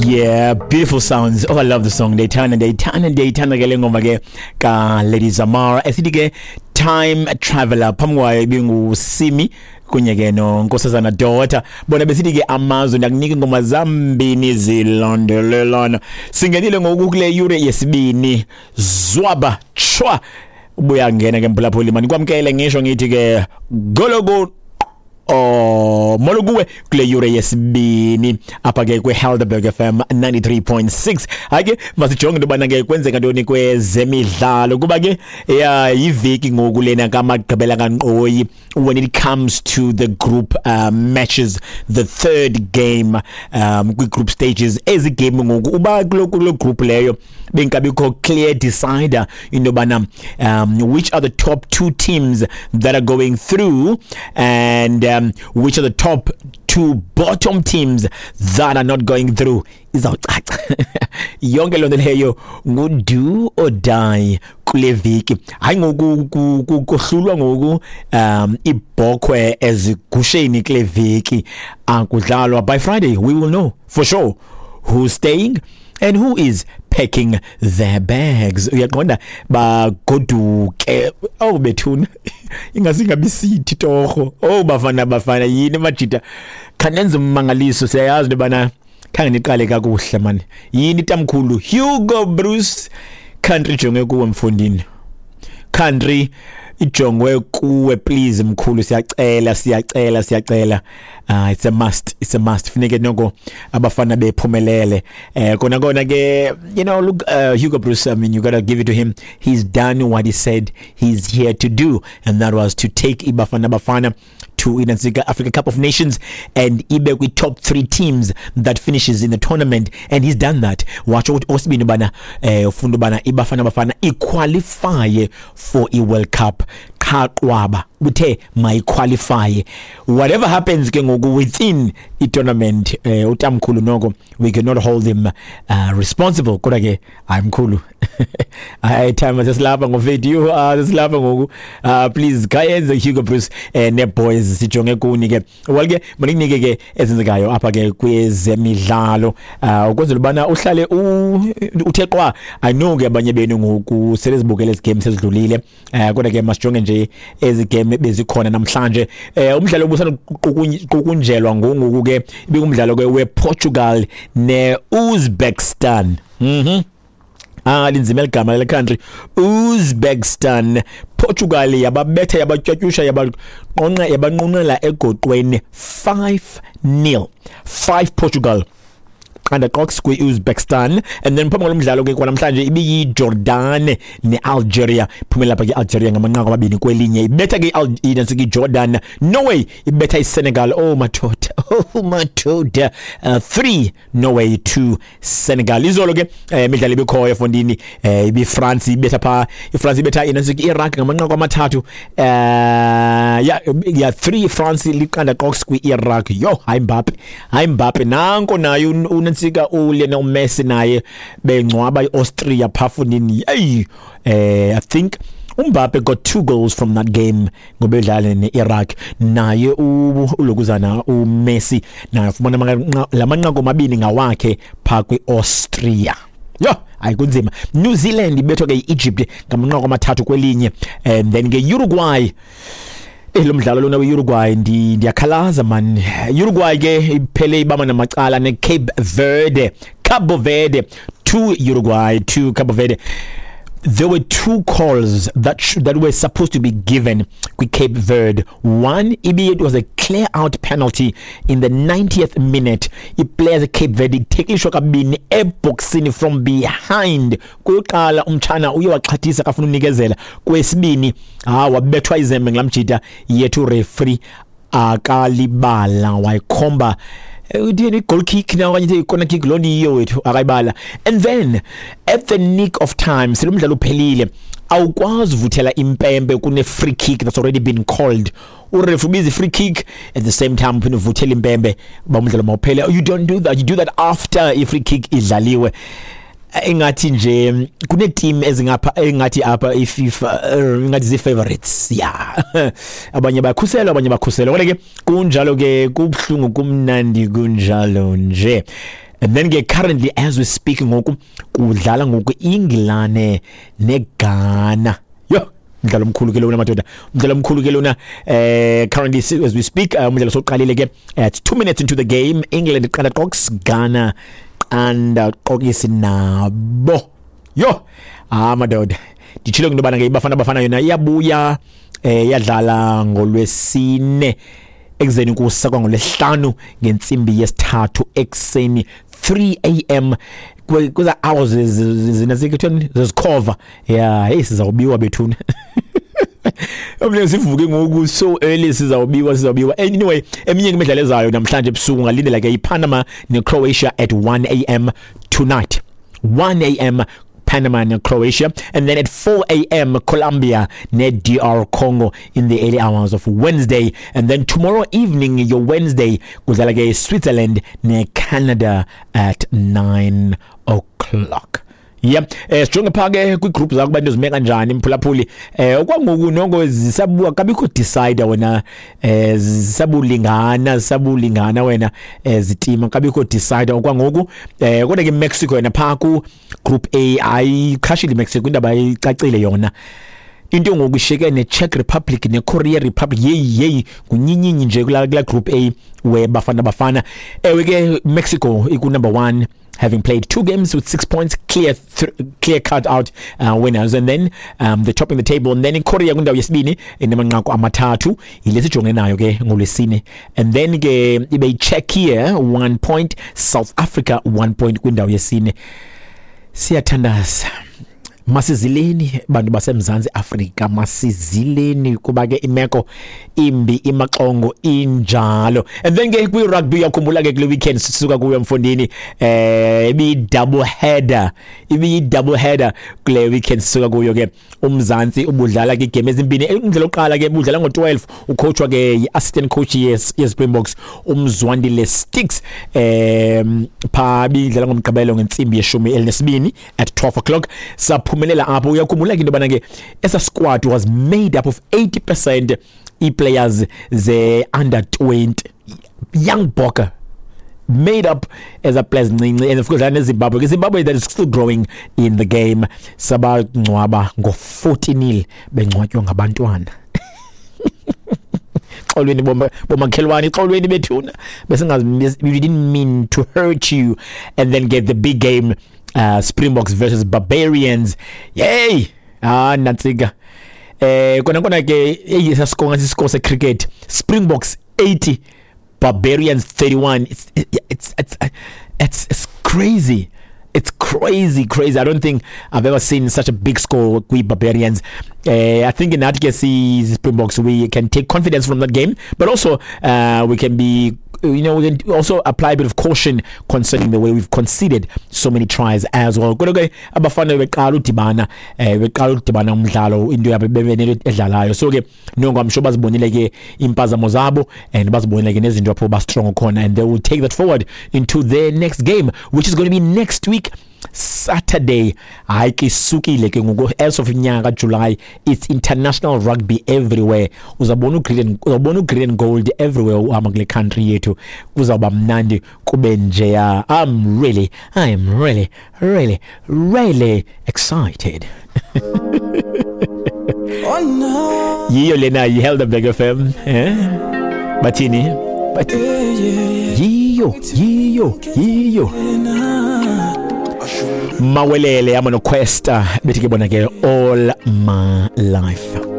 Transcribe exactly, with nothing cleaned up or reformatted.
Yeah, beautiful sounds. Oh, I love the song. Ndiyayithanda, ndiyayithanda, ndiyayithanda ke le ngoma ke ka Lady Zamar. Esithi ke "Time Traveler". Phambi kwayo ibinguSimi kunye ke noNkosazana Daughter. Bona besithi ke "Amazwe". Ndakunika ingoma zambini zilandelelana. Singenile ngoku kule yure yesibini. Zwaba chwa. Ubuya ngena ke mphulaphuli, mani kwamkele, ngisho ngithi ke gologo. Oh, molo kuwe kule yure yesibini apha ke kwi-Helderberg F M ninety-three point six. Hayi ke, masijonge into yobana ke kwenzeka ntoni kwezemidlalo, kuba ke ya yiveki ngoku lena kamagqibela kankqoyi when it comes to the group uh, matches, the third game um kwi-group stages. Ezi game ngoku uba kulo kulo group leyo bengabikho clear decider into yobana um which are the top two teams that are going through and um, which are the top two bottom teams that are not going through. Izawucaca yonke loo nto leyo, ngu-do or die kule veki. Hayi, ngoku kohlulwa ngoku um ibhokhwe ezigusheni kule veki, akudlalwa. By Friday we will know for sure who's staying and who is packing their bags, uyaqonda, bagoduke. Oh bethuna, ingasingabi sithi torho. Oh bafana, bafana, yini majita, khanenza ummangaliso. Siyayazi into yobana khange niqale kakuhle mani. Yini tamkhulu Hugo Broos, country jonge kuwe mfundini, country ijongwe kuwe, please mkhulu, siyacela, siyacela, siyacela. uh, it's a must, it's a must, funeke noko abafana bephumelele. eh kona kona ke, you know look, uh, Hugo Broos, I mean, you got to give it to him, he's done what he said he's here to do, and that was to take iBafana Bafana to inantsika Africa Cup of Nations and ibe kwi top three teams that finishes in the tournament, and he's done that. Watsho ukuthi osibini bana eh ufuna ubana iBafana Bafana iqualify for i World Cup. Qha qwaba, uthe mayiqualify, whatever happens ke ngoku within i tournament, eh utamkhulu noko we cannot hold him uh, responsible. Kodwa ke hayi mkhulu, hayi, time sesilapha ngovideo, uh, sesilapha ngoku, uh, please khayenze Hugo Broos eh, ne boys, sijonge kuni ke. Well ke, manikunike ke ezenzekayo apha ke kwezemidlalo uh, ukwenzela ubana uhlale uthe qwa. I know ke abanye benu ngoku selezibukele ezi game sezidlulile, eh kodwa ke masijonge nje ezi game bezikhona namhlanje. eh umdlalo obusanokuqunjelwa ngongoku ke ibingumdlalo ke wePortugal neUzbekistan. mhm Ah linzima eligama le country, Uzbekistan. Portugal yababetha, yabatywatyusha, yabanqonqa, yabanqunqela egoqweni five nil, five Portugal qanda qox kwi-Uzbekistan. And then phambi kwalomdlalo ke kwanamhlanje ibiyi-Jordan ne-Algeria. Phumela lapha ke Algeria ngamanqaku amabini kwelinye, ibetha ke inantsika i-Jordan. Norway ibetha iSenegal, oh madoda, oh madoda, uh, three Norway, two Senegal. Izolo ke eh, imidlalo ibikhoyo efondini, eh, ibi-France ibetha pha, iFrance ibetha inantsika i-Iraq ngamanqaku amathathu, eh ya ya three France liqanda qox kwi-Iraq. Yo, hayi Mbappe, hayi Mbappe, nanko naye unantsika uLionel Messi naye bengcwaba iAustria phafundini. Hey, eh I think uMbappe got two goals from that game ngoba edlala neIraq. Naye ulokuzana uMessi naye ufumana lamanqaku amabini ngawakhe pha kwiAustria. Yo, hayi kunzima. New Zealand ibethwa ke iEgypt ngamanqaku amathathu kwelinye. And then ke Uruguay, lo mdlalo lona we-Uruguay, ndiyakhalaza man. Uruguay ke iphele ibamba namacala ne-Cape Verde, Cabo Verde, two Uruguay, two Cabo Verde. There were two calls that sh- that were supposed to be given kwi Cape Verde. One, it was a clear out penalty in the ninetieth minute. I-players Cape Verde ithekilishwa kabini eboxini from behind. Kuqala umtshana uye waxhathisa kafuna unikezela. Kwesibini, ah wabethwa izembe ngelamjita yethu, referee akalibala wayikhomba, uthini, goal kick na okanye i-corner kick, loo nto yiyo wethu, akayibala. And then at the nick of time, sele umdlalo uphelile, awukwazi uvuthela impempe kune free kick that's already been called. Uref ubiza free kick, at the same time uphinde uvuthela impempe uba umdlalo mawuphele. You don't do that, you do that after i-free kick idlaliwe. Engathi nje kune team ezingapha, engathi apha iFIFA ingathi zi favorites, yeah, abanye bakhuselwa, abanye bakhuselwa. Kodwa ke kunjalo ke, kubhlungu, kumnandi, kunjalo nje. And then ke currently as we speak ngoku kudlala ngoku Ingilane neGhana. Yo, umdlalo omkhulu ke lona madoda, umdlalo omkhulu ke lona. eh currently as we speak, umdlalo soqalile ke at two minutes into the game, England qanda qox, Ghana qanda qoxisi nabo. Yo, ah madoda, nditshilo into yobana ke iBafana Bafana yona iyabuya, eh yadlala ngolwesine ekuzeni kusa kwangolwesihlanu ngentsimbi yesithathu ekuseni, three a m kuza hours zinazikithweni zezikhova. Yeah, hey, sizawubiwa bethuna. Omle sivuke ngoku so early, sizawubiwa, sizawubiwa. Anyway, eminye imidlalo ezayo namhlanje ebusuku ngalindela ke iPanama neCroatia at one a m tonight. one a m Panama and Croatia, and then at four a m Colombia ne D R Congo in the early hours of Wednesday, and then tomorrow evening, your Wednesday, kudlala ke Switzerland ne Canada at nine o'clock. Yeah, eh sijonge pha ke kwi-group zakho abantu zime kanjani mphulaphuli. Eh okwangoku nongo zisabuka kabikho decider wena, eh zisabulingana zisabulingana wena, eh zitima kabikho decider okwangoku. Eh kodwa ke Mexico yena pha ku group A ayikhashile Mexico, indaba icacile yona. Into ngoku isheke ne Czech Republic ne Korea Republic, yeyi yeyi kunyinyinyi nje kula kula group A we Bafana Bafana. Ewe ke Mexico iku number one, having played two games with six points, clear th- clear cut out uh, winners, and then um, they're topping the table. And then in Korea kwindawo yesibini inamanqaku amathathu, yile sijonge nayo ke ngolwesine. And then ke ibe Czechia one point, South Africa one point kwindawo yesine. Siyathandaza, masizileni bantu baseMzantsi Afrika, masizileni kuba ke imeko imbi, imaxongo injalo. And then ke kwi-rugby, uyakhumbula ke kule weekend sisuka kuyo mfondini, eh ibi double header, ibi double header kule weekend sisuka kuyo ke. UMzantsi ubudlala ke igame ezimbini. Umdlalo oqala ke budlala ngo-twelve, ucoachwa ke yi-assistant coach yes yeSpringboks uMzwandile Sticks, em pha bidlala ngomgqibelo ngentsimbi yeshumi elinesibini at twelve o'clock. Saphumelela apho. Uyakhumbula ke into yobana ke esa squad was made up of eighty percent ii-players ze under twenty, young Bokke made up as a players ncinci, and of course neZimbabwe ke, Zimbabwe that is still growing in the game. Sabangcwaba ngo-forty nil, bengcwatywa ngabantwana. Xolweni bomakhelwane, xolweni bethuna, besingazi, we didn't mean to hurt you. And then get the big game, uh, Springboks versus Barbarians. Yay, ah nantsika. Eh kona kona ke eyisa score ngathi score se cricket, Springboks eighty, Barbarians thirty-one. it's it's it's it's it's crazy. It's crazy, crazy. I don't think I've ever seen such a big score with Barbarians. Uh, I think in that case, Springboks, we can take confidence from that game, but also uh, we can be, you know, we can also apply a bit of caution concerning the way we've conceded so many tries as well. Kodwa ke abafana beqala udibana, eh beqala udibana umdlalo, into yabo bebenele edlalayo. So ke nongo I'm sure bazibonile ke impazamo zabo and bazibonile ke nezinto apho ba strong khona, and they will take that forward into their next game, which is going to be next week Saturday. Hayi ke isukile ke ngoku, as of inyanga July, it's international rugby everywhere. Uzabona ugreen, uzabona ugreen and gold everywhere uhamba kule country yethu. Kuzawuba mnandi kube njeya. I'm really I am really really really excited. Oh no. Yiyo lena yiHelderberg F M, eh bathini bathi Yeah, yeah, yeah. Yiyo yiyo yiyo Mawelele ama noQuesta bethi ke bona ke all my life.